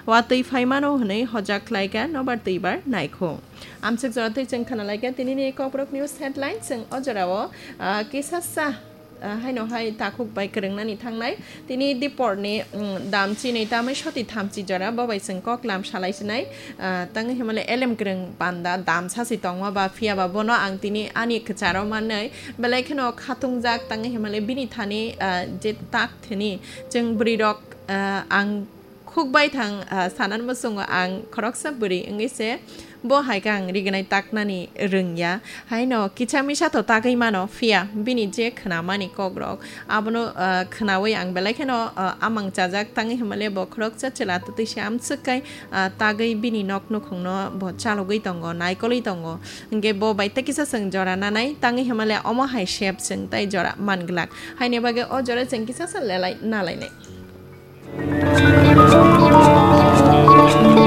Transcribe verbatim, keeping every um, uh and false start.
watwi phaimano hwnwi hojak khlaikha nobar twibar naikhu. Amswk jora twi chwng khna laikha tinini Kokborok News headline, chwng o jorao, ah, kisasa, ah, haino hai takhuk bai kwrwngnani thangnai. Tini diporni, mm, dam chinwi tamwi soti thamchi jora, bo bai chwng kok lam salai sinai. Ah, tangwi himale elem kwrwng panda dam sasi tongma ba, phiya ba bono ang tini ani kwcharo manwi belai kheno khatungjak, tangwi himale bini thani, ah, je tak thani chwng bwrwi rok, ah, ang khuk bai thang, ah, sanan muchungo ang khoroksa bwrwi wngwi se bo hai khe ang rignai taknani rwngya. Haino kisa misa to tagwi mano, phiya bini je khwnamani kokrok abono, ah, khwnawi ang belai kheno, ah, amang chajak, tangwi himale bo khoroksa chwla twtwi se amswk kai, ah, tagwi bini nok nukhungno bo chalogwi tongo, naikolwi tongo. Hwnkhe bo bai tei kisa chwng jora nanai, tangwi himale omo hai sep chwng tei jora manglak. Haini bagwi o jora chwng kisa sa lelai nalainai.